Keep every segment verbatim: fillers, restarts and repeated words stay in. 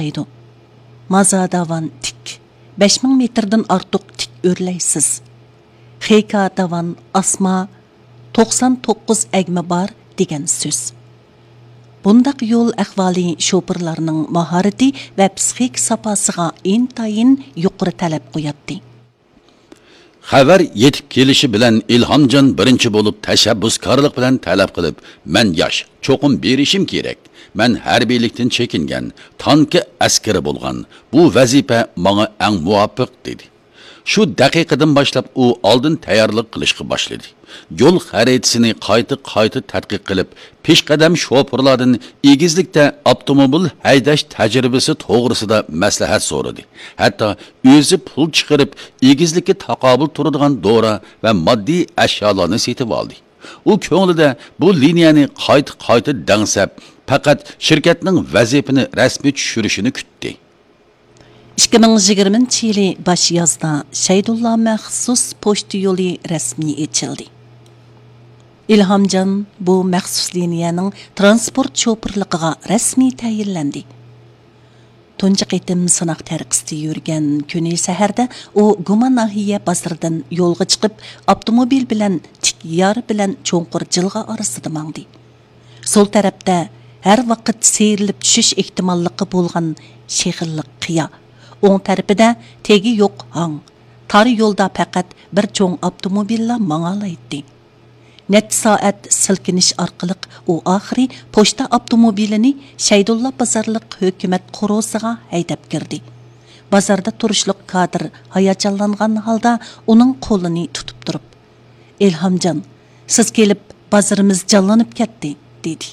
دەيدۇ. مازاداۋان تىك، بەش مىڭ مېتىردىن ئارتۇق تىك ئۆرلەيسىز. خېكاداۋان ئاسما، توقسان توققۇز ئەگمە بار دېگەن سۆز. بۇنداق يول ئەھۋالى شوپۇرلارنىڭ ماھارىتى ۋە پسىخىك ساپاسىغا ئىنتايىن يۇقىرى تەلەپ قوياتتى. خەۋەر يېتىپ كېلىشى بىلەن ئىلھامجان بىرىنچى بولۇپ تەشەببۇسكارلىق بىلەن تەلەپ قىلىپ، مەن ياش، چوقۇم بېرىشىم كېرەك. مەن ھەربىيلىكتىن چېكىنگەن، تانكا ئەسكىرى بولغان. بۇ ۋەزىپە ماڭا ئەڭ مۇۋاپىق، دېدى. شۇ دەقىقىدىن باشلاپ ئۇ ئالدىن تەييارلىق قىلىشقا باشلىدى. يول خەرىتىسىنى قايتا-قايتا تەتقىق قىلىپ، پېشقەدەم شوپۇرلاردىن ئېگىزلىكتە ئاپتوموبىل ھەيدەش تەجرىبىسى توغرىسىدا مەسلىھەت سورىدى. ھەتتا ئۆزى پۇل چىقىرىپ، ئېگىزلىككە تاقابىل تۇرىدىغان دورا ۋە ماددىي ئەشيالارنى سېتىۋالدى. ئۇ كۆڭلىدە بۇ لىنىيەنى قايتا-قايتا دەڭسەپ، پەقەت شىركەتنىڭ ۋەزىپىنى رەسمىي چۈشۈرۈشىنى كۈتتى. ئىككى مىڭ يىگىرمىنچى يىلى باش يازدا شەيدۇللا مەخسۇس پوچتا يولى رەسمىي ئېچىلدى. ئىلھامجان بۇ مەخسۇس لىنىيەنىڭ تىرانسپورت شوپۇرلۇقىغا رەسمىي تەيىنلەندى. تۇنجى قېتىم سىناق تەرىقىسىدە يۈرگەن كۈنى سەھەردە ئۇ گۇما ناھىيە بازىرىدىن يولغا چىقىپ، ئاپتوموبىل بىلەن تىك يار بىلەن چوڭقۇر جىلغا ئارىسىدا ماڭدى. سول تەرەپتە ھەر ۋاقىت سىيرىلىپ چۈشۈش ئېھتىماللىقى بولغان شېخىللىق قىيا، ئوڭ تەرىپىدە تېگى يوق ھاڭ، تار يولدا پەقەت بىر چوڭ ئاپتوموبىللا ماڭالايتتى. نەچچە سائەت سىلكىنىش ئارقىلىق ئۇ ئاخىرى پوچتا ئاپتوموبىلىنى شەيدۇللا بازارلىق ھۆكۈمەت قورۇسىغا ھەيدەپ كىردى. بازاردا تۇرۇشلۇق كادىر ھاياجانلانغان ھالدا ئۇنىڭ قولىنى تۇتۇپ تۇرۇپ، ئىلھامجان، سىز كېلىپ بازىرىمىز جانلىنىپ كەتتى، دېدى.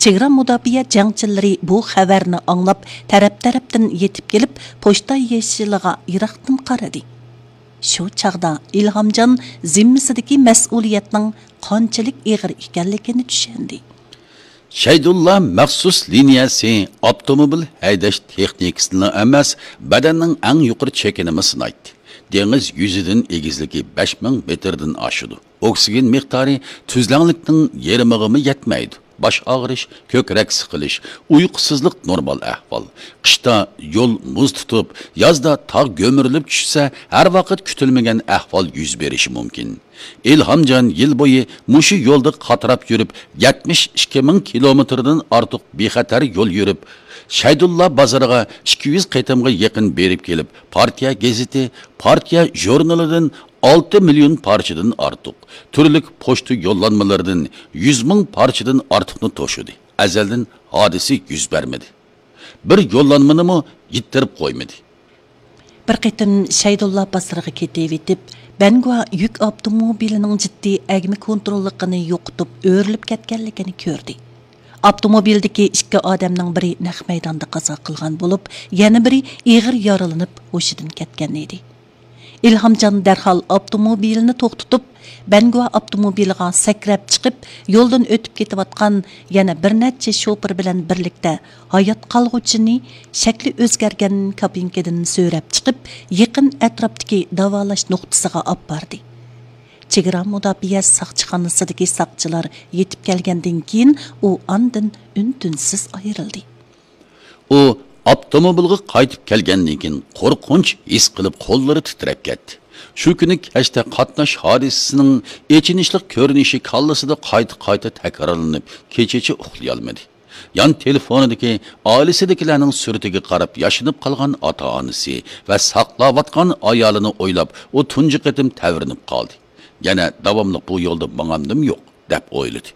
چېگرا مۇداپىئە جەڭچىلىرى بۇ خەۋەرنى ئاڭلاپ، تەرەپ-تەرەپتىن يېتىپ كېلىپ، پوچتا يېشىلىغا يىراقتىن قارىدى. شۇ چاغدا ئىلھامجان زىممىسىدىكى مەسئۇلىيەتنىڭ قانچىلىك ئېغىر ئىكەنلىكىنى چۈشەندى. شەيدۇللا مەخسۇس لىنىيەسى ئاپتوموبىل ھەيدەش تېخنىكىسىنىلا ئەمەس، بەدەننىڭ ئەڭ يۇقىرى چېكىنىمۇ سىنايتتى. دېڭىز يۈزىدىن ئېگىزلىكى بەش مىڭ مېتىردىن ئاشىدۇ. ئوكسىگېن مىقدارى تۈزلەڭلىكنىڭ يېرىمىغىمۇ يەتمەيدۇ. باش ئاغرىش، كۆكرەك سىقىلىش، ئۇيقۇسىزلىق نورمال ئەھۋال. قىشتا يول مۇز تۇتۇپ، يازدا تاغ گۈمۈرۈلۈپ چۈشسە، ھەر ۋاقىت كۈتۈلمىگەن ئەھۋال يۈز بېرىشى مۇمكىن. ئىلھامجان يىل بويى مۇشۇ يولدا قاتراپ يۈرۈپ، يەتمىش ئىككى مىڭ كىلومېتىردىن ئارتۇق بىخەتەر يول يۈرۈپ، شەيدۇللا بازىرىغا ئىككى يۈز قېتىمغا يېقىن بېرىپ كېلىپ، پارتىيە گېزىتى، پارتىيە ژۇرنىلىدىن ئالتە مىليون پارچىدىن ئارتۇق، تۈرلۈك پوچتا يوللانمىلىرىدىن يۈز مىڭ پارچىدىن ئارتۇقنى توشۇدى. ئەزەلدىن ھادىسە يۈز بەرمىدى. بىر يوللانمىنىمۇ يىتتۈرۈپ قويمىدى. بىر قېتىم شەيدۇللا بازىرىغا كېتىۋېتىپ، بەنگۇا يۈك ئاپتوموبىلىنىڭ جىددىي ئەگمە كونتروللۇقىنى يوقىتىپ، ئۆرۈلۈپ كەتكەنلىكىنى كۆردى. ئاپتوموبىلدىكى ئىككى ئادەمنىڭ بىرى نەق مەيداندا قازا قىلغان بولۇپ، يەنە بىرى ئېغىر يارىلىنىپ ھوشىدىن كەتكەن ئىدى. ئىلھامجان دەرھال ئاپتوموبىلىنى توختىتىپ، بەنگۇا ئاپتوموبىلىغا سەكرەپ چىقىپ، يولدىن ئۆتۈپ كېتىۋاتقان يەنە بىر نەچچە شوپۇر بىلەن بىرلىكتە ھايات قالغۇچىنى شەكلى ئۆزگەرگەن كابىنكىدىن سۆرەپ چىقىپ، يېقىن ئەتراپتىكى داۋالاش نۇقتىسىغا ئاپاردى. چېگرا مۇداپىئە ساقچىخانىسىدىكى ساقچىلار يېتىپ كەلگەندىن كېيىن، ئۇ ئاندىن ئۈن-تىنسىز ئايرىلدى. ئۇ ئاپتوموبىلغا قايتىپ كەلگەندىن كېيىن قورقۇنچ ھېس قىلىپ قوللىرى تىترەپ كەتتى. شۇ كۈنى كەچتە قاتناش ھادىسىسىنىڭ ئېچىنىشلىق كۆرۈنۈشى كاللىسىدا قايتا-قايتا تەكرارلىنىپ، كېچىچە ئۇخلىيالمىدى. يان تېلېفونىدىكى ئائىلىسىدىكىلەرنىڭ سۈرىتىگە قاراپ ياشىنىپ قالغان ئاتا-ئانىسى ۋە ساقلاۋاتقان ئايالىنى ئويلاپ، ئۇ تۇنجى قېتىم تەۋرىنىپ قالدى. يەنە داۋاملىق بۇ يولدا ماڭامدىم يوق، دەپ ئويلىدى.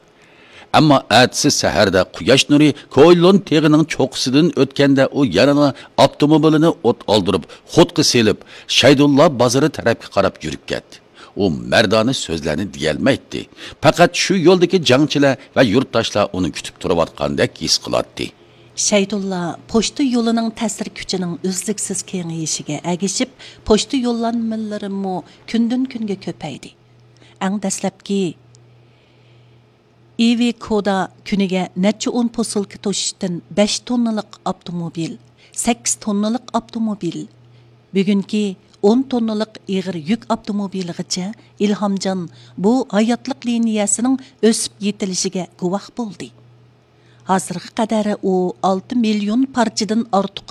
ئەمما ئەتىسى سەھەردە قۇياش نۇرى كويلون تېغىنىڭ چوققىسىدىن ئۆتكەندە، ئۇ يەنىلا ئاپتوموبىلىنى ئوت ئالدۇرۇپ، خۇدقا سېلىپ، شەيدۇللا بازىرى تەرەپكە قاراپ يۈرۈپ كەتتى. ئۇ مەردانە سۆزلەرنى دېيەلمەيتتى. پەقەت شۇ يولدىكى جەڭچىلەر ۋە يۇرتداشلار ئۇنى كۈتۈپ تۇرۇۋاتقاندەك ھېس قىلاتتى. شەيدۇللا پوچتا يولىنىڭ تەسىر كۈچىنىڭ ئۈزلۈكسىز كېڭىيىشىگە ئەگىشىپ، پوچتا يوللانمىلىرىمۇ كۈندىن-كۈنگە كۆپەيدى. ئەڭ دەسلەپكى ئىۋىكودا كۈنىگە نەچچە ئون پوسۇلكا توشۇشتىن بەش توننىلىق ئاپتوموبىل، سەككىز توننىلىق ئاپتوموبىل، بۈگۈنكى ئون توننىلىق ئېغىر يۈك ئاپتوموبىلىغىچە ئىلھامجان بۇ ھاياتلىق لىنىيەسىنىڭ ئۆسۈپ يېتىلىشىگە گۇۋاھ بولدى. ھازىرغا قەدەر ئۇ ئالتە مىليون پارچىدىن ئارتۇق